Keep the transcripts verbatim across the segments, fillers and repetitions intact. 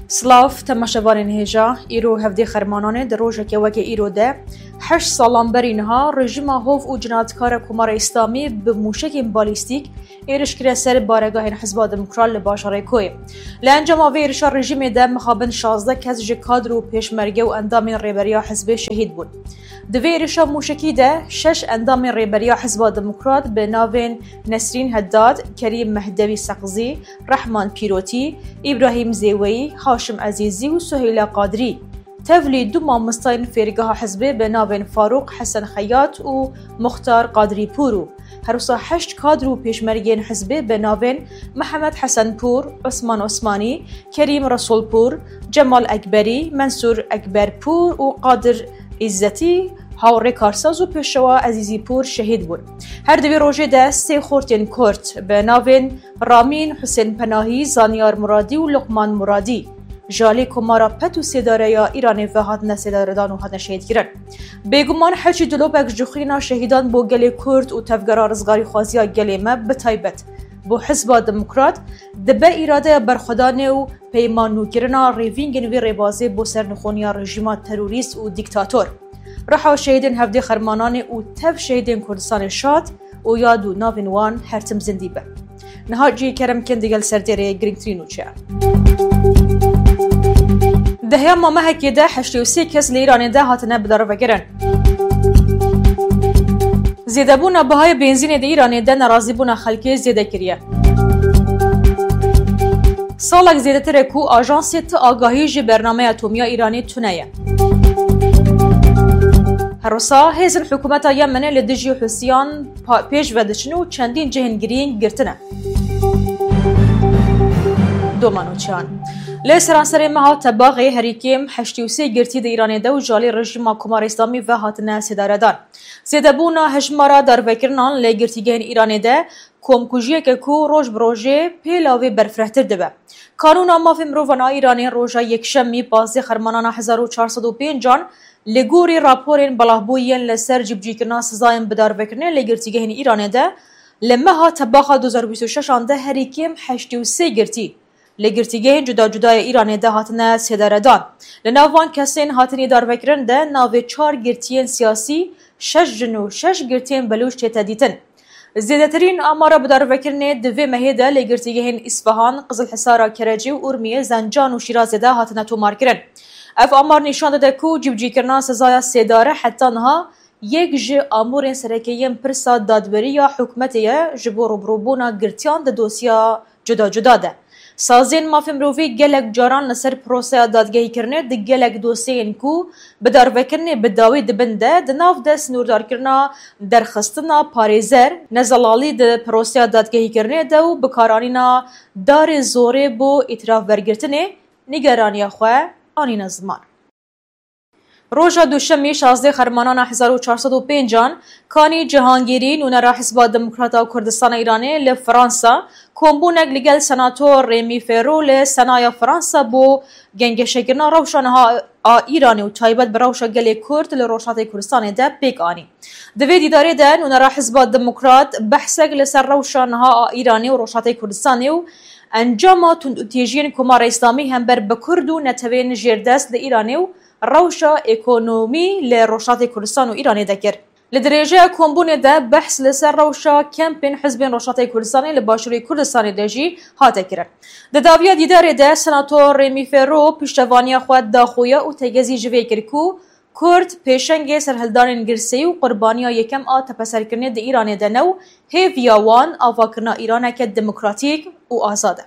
Silav, temaşevanên hêja, îro hevdê Xermananê di rojeke weke îro de, heşt salan berî niha rejîma hov û cinadkara Komara Îslamî bi mûşekên balîstîk êriş kire ser baregahên Hizba Demokrat li bajarê Koyê. Li encama vê êrişa rejîmê de mixabin şazdeh kes ji kadr û pêşmerge û endamên rêberiya hizbê şehîd bûn. Di vê êrişa mûşekî de şeş endamên rêberiya Hizba Demokrat bi navên Nesrîn Heddad, Kerîm Mehdewî Seqzî, Rehman Pîrotî, Îbrahîm Zêweyî, Haşim Ezîzî û Suheyla Qadirî, tevlî du mamostayên fêrgeha hizbê bi navên Farûq Hesen Xeyat û Muxtar Qadirîpûr û herwisa heşt kadr û pêşmergeyên hizbê bi navên Mihemed Hesenpûr, Osman Osmanî, Kerîm Resulpûr, Cemal Ekberî, Mensûr Ekberpûr û Qadir Îzzetî, hawrê karsaz û pêşewa Ezîzîpûr şehîd bûn. Her di vê rojê de sê xortên Kurd bi navên Ramîn, Husên Penahî, Zanyar Muradî û Luqman Muradî ji alî Komara Pet û Sêdare ya Îranê ve hatine sêdaredan û hatine şehîdkirin. Bêguman heçî dilopek ji xwîna şehîdan bo gelê Kurd û tevgera rizgarîxwaziya gelê me bi taybet bo Hizba Demokrat dibe îradeya berxwedanê û peymanûkirina rêvîngên vî rêbazê bo sernixoniya rejîma terorîst û dîktator. Riha şehîdên hevdê Xermananê û tev şehîdên Kurdistanê şad û yad û navên wan her tim zindî be. Niha jî kerem kin digel serdêrê girîngtirîn nûçeyan. Dehya mamehekê de heştê û sê kes li Îranê de hatine bidarvekirin. Zêdebûna bihayê benzînê di Îranê de nerazîbûna xelkê zêde kiriye. Salek zêdetir e ku ajansê ti agahî ji bernameya atomiya Îranê tune ye. Herwisa hêzên hikûmeta Yemenê li dijî Hûsiyan pa-, pêş ve diçin û çendîn cihên girîng girtine. Doma nûçeyan. Li seranserê meha Tebaxê herî kêm heştê û sê girtî di Îranê de û ji alî rejîma Komara Îslamî ve hatine sêdaredan. Zêdebûna hejmara darvekirinan li girtîgehên Îranê de komkujiyeke ku roj bi rojê pêla wê berfirehtir dibe. Kanûna Mafê Mirovan a Îranê roja Yekşemî pazdeh Xermanana hezar û çar sed û pênc an li gorî raporên belavbûyî yên li ser cîbicîkirina sizayên bidarvekirinê li girtîgehên Îranê de li meha Tebaxa du hezar û bîst û şeş an de herî kêm heştê û sê girtî li girtîgehên cuda cuda yê Îranê de hatine sêdaredan. Li nav van kesên hatinî darvekirin de navê çar girtiyên siyasî, şeş jin û şeş girtiyên belûç tête dîtin. Zêdetirîn amara bidarvekirinê di vê mehê de li girtîgehên Îsfahan, Qizilhisara Kerecê û Urmiyê, Zencan û Şîrazê de hatine tomarkirin. Ev amar nîşan dide ku cîbicîkirina sezaya sêdare heta niha yek ji amûrên sereke yên pirsa dadwerî ya hikûmetê ye ji bo rûbirûbûna girtiyan di dosya cuda cuda de. Sazên mafê mirovî gelek caran li ser proseya dadgehîkirinê di gelek dosyeyên ku bidarvekirinê bi dawî dibin de, di nav de sinûrdarkirina derxistina parêzer, nezelalî di proseya dadgehîkirinê de û bikaranîna darê zorê bo îtirafvergirtinê, nîgeraniya xwe anîne ziman. Roja Duşemî, şazdeh Xermanana hezar û çar sed û pênc an, Kanî Cihangîrî, nûnera Hizba Demokrat a Kurdistana Îranê li Fransa, kombûnek li gel Senator Rêmî Ferro li Senaya Fransa bo gengeşekirina rewşa niha a Îranê û taybet bi rewşa gelê Kurd li Rojhatê Kurdistanê de pêk anî. Di vê dîdarê de nûnera Hizba Demokrat behsek li ser rewşa niha a Îranê û Rojhatê Kurdistanê û encama tundûtîjiyên Komara Îslamî hember bi Kurd û netewên jêrdest li Îranê û rewşa ekonomî li Rojhatê Kurdistan û Îranê de kir. Li dirêjeya kombûnê de behs li ser rewşa kempên hizbên Rojhatê Kurdistanê li Başûrê Kurdistanê de jî hate kirin. Di dawiya dîdarê de Senator Rêmî Ferro piştevaniya xwe da xuya û tegezî ji vê kir ku Kurd pêşengê serhildanên girseyî û qurbaniya yekem a tepeserkirinê di Îranê de ne û hêviya wan avakirina Îraneke demokratîk û azad e.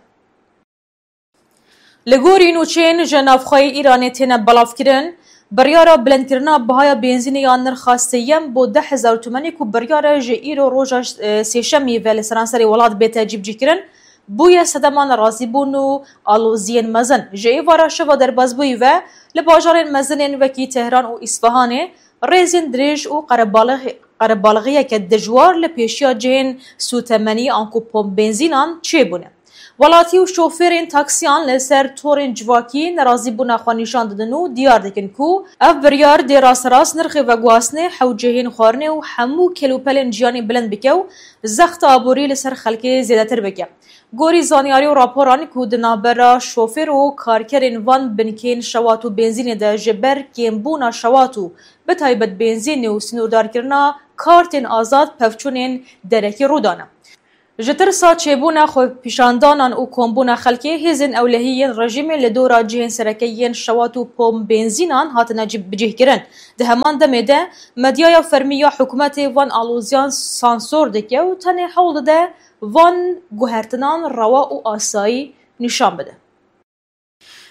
Li gorî nûçeyên ji navxweyê Îranê têne belavkirin, biryara bilindkirina bihaya benzînê ya nirxa sêyem bo deh hezar tûmenî ku biryar e ji îro roja, e, sêşemî ve li seranserê welat bête cîbicîkirin, bûye sedema nerazîbûn û aloziyên mezin. Ji êvara şeva derbasbûyî ve li bajarên mezinên wekî Tehran û Îsfahanê rêzên dirêj û qerebalix-, qerebalixiyeke dijwar li pêşiya cihên sûtemenî anku pomp benzînan çêbûne. Welatî û şofêrên taksiyan li ser torên civakî nerazîbûna xwe nîşan didin û diyar dikin ku ev biryar dê rasterast nirxê veguhastinê, hewcehên xwarinê û hemû kelûpelên jiyanê bilind bike û zexta aborî li ser xelkê zêdetir bike. Gorî zanyarî û raporan ku di navbera şofêr û karkerên van binkên şewat û benzînê de ji ber kêmbûna şewat û bi taybet benzînê û sînordarkirina kartên azad pevçûnên derekî rû dane. Ji tirsa çêbûna xwepîşandanan û kombûna xelkê, hêzên ewlehî yên rejîmê li dora cihên sereke yên şewat û pom benzînan hatine cî-, bicihkirin. Di heman demê de medyaya fermî ya hikûmetê van aloziyan sansor dike û tenê hewl dide van guhertinan rewa û asayî nîşan bide.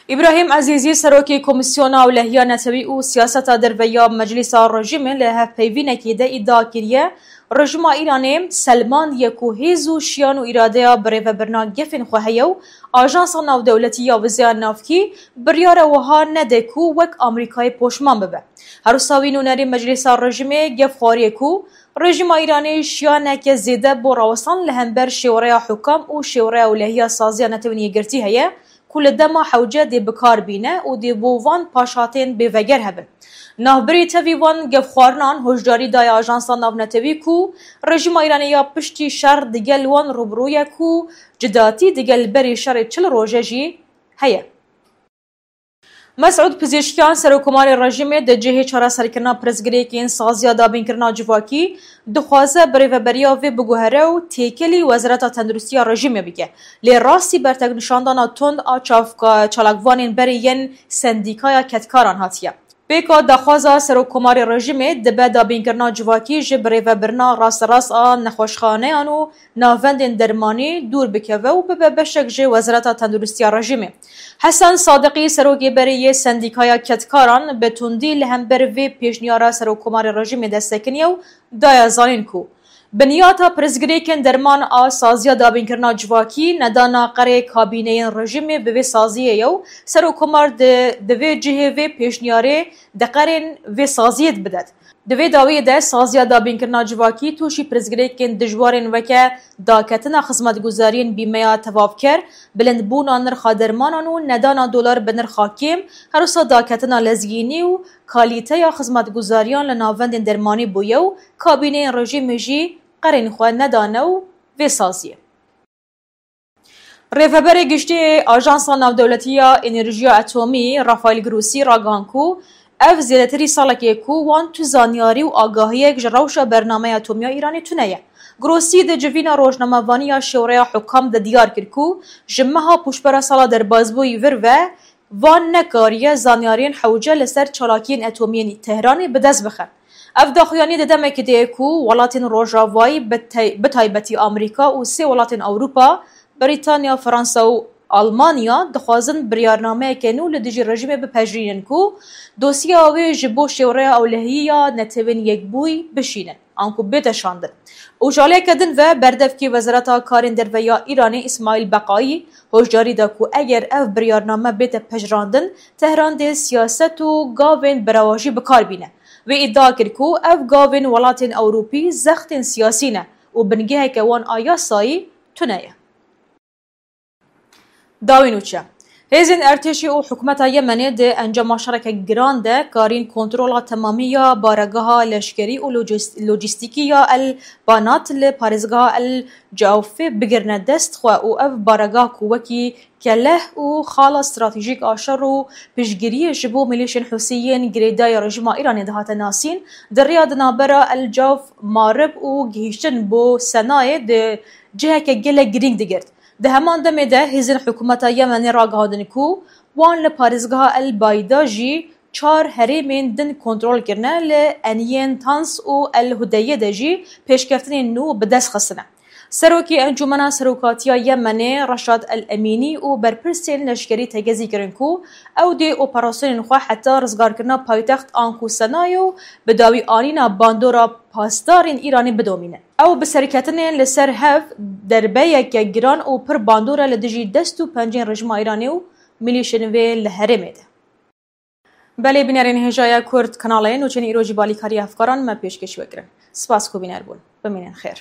Îbrahîm Ezîzî, serokê Komîsyona Ewlehiya Netewî û Siyaseta Derve ya Meclîsa Rejîmê, li hevpeyvînekê de îdia kiriye, rejîma Îranê selmandiye ku hêz û şiyan û îradeya birêvebirina gefên xwe heye û Ajansa Navdewletî ya Wizaya Navkî biryara wiha nede ku wek Amerîkayê poşman bibe. Her wisa wî nûnerê Meclîsa Rejîmê gef xwariye ku rejîma Îranê şiyaneke zêde bo rawestan li hember şêwereya hukam û şêwereya ewlehiya saziya Netewên Yekgirtî heye ku li dema hewce dê bi kar bîne û dê bo van paşhatên bêveger hebin. Navbirî tevî van gefxwarinan hişdarî daye Ajansa Navnetewî ku rejîma Îranê ya piştî şer digel wan rûbirû ye ku cidatî digel berî şerê çil roje jî heye. Mesûd Pizîşkiyan, serokkomarê rejîmê di cihê çareserkirina pirsgirêkên saziya dabînkirina civakî, dixwaze birêveberiya vê biguhere û têkelî Wezareta Tenduristiya rejîmê bike. Lê rastî berteknîşandana tund a çavka-, çalakvanên berê yên sendîkaya kedkaran hatiye. Pêka daxwaza serokkomarê rejîmê dibe dabînkirina civakî ji birêvebirina rasterast a nexweşxaneyan û navendên dermanî dûr bikeve û bibe beşek ji Wezareta Tenduristiya rejîmê. Hesen Sadiqî, serokê berê yê Sendîkaya Kedkaran, bi tundî li hember vê pêşniyara serokkomarê rejîmê destekiniye û daye zanîn ku binyata pirsgirêkên derman a saziya dabînkirina civakî nedana qerê kabîneyên rejîmê bi vê saziyê ye û serokkomar di, di vê cihê vê pêşniyarê di qerên vê saziyê bidet. Di vê dawiyê de saziya dabînkirina civakî tûşî pirsgirêkên dijwarên weke daketina xizmetguzariyên bîmeya tevavker, bilindbûna nirxa dermanan û nedana dolar bi nirxa kêm, her wisa daketina lezgînî û kalîteya xizmetguzariyan li navendên dermanî bûye û kabîneyên rejîmê jî qerên xwe nedane û vê saziyê. Rêveberê Giştî yê Ajansa Navdewletî ya Enerjiya Atomî, Rafael Grossi, ragihand ku ev zêdetirî salekê ku wan tu zanyarî û agahiyek ji rewşa bernameya atomî ya Îranê tune ye. Grossi di civîna rojnamevanî ya Şêwreya Hukam de diyar kir ku ji meha pûşbera sala derbasbûyî vir ve van nekariye zanyariyên hewce li ser çalakiyên atomî yên Tehranê bi dest bixe. Ev daxuyanî di demekê de ye ku welatên Rojavayî, bi tay-, bi taybetî Amerîka û sê welatên Ewropa, Brîtanya, Fransa û Almanya, dixwazin biryarnameyeke nû li dijî rejîmê bipejirînin ku dosyeya wê ji bo Şêwreya Ewlehiyî ya Netewên Yekbûyî bişînin, anku bête şandin. Û ji aliyeke din ve berdevkê Wezareta Karên Derve ya Îranê Îsmaîl Beqayî hişdarî da ku eger ev biryarname bête pejirandin, Tehran dê siyaset û gavên berewajî bi kar bîne. Wê îdia kir ku ev gavên welatên Ewropî zextên siyasî ne û bingeheke wan a yasayî tune ye. Dawî nûçe. Hêzên erdhêjî û hikûmeta Yemenê di encama şereke giran de karîn kontrola temamî ya baregeha leşkerî û lojis-, lojîstîkî ya El Banat li parêzgeha El Cewfê bigirine dest xwe û ev baregah ku wekî keleh û xala stratejîk a şer û piştgiriyê ji bo milîşên Husî yên girêdayî rejîma Îranê dihate nasîn, di rêya di navbera El Cewf, Marib û gihîştin bo Senayê di ciheke gelek girîng digirt. Di heman demê de hêzên hikûmeta Yemenê ragihandin ku wan li parêzgeha El Bayda jî çar herêmên din kontrol kirine, li eniyên Tans û El Hudeyê de jî pêşkeftinên nû bi dest xistine. Serokê Encûmena Serokatiya Yemenê Reşad El Emînî û berpirsên leşkerî tegezî kirin ku ew dê operasyonên xwe heta rizgarkirina paytext anku Senayê û bi dawî anîna bandora pasdarên Îranê bidomîne. Ew bi serketinên li ser hev derbeyeke giran û pir bandor e li dijî dest û pencên rejîma Îranê û milîşên wê li herêmê de. Belê bînerên hêja ya Kurd Kanalê, nûçeyên îro jî balîkarî hevkaran me pêşkêş we kirin. Spas ku bîner bûn. Bimînin xêr.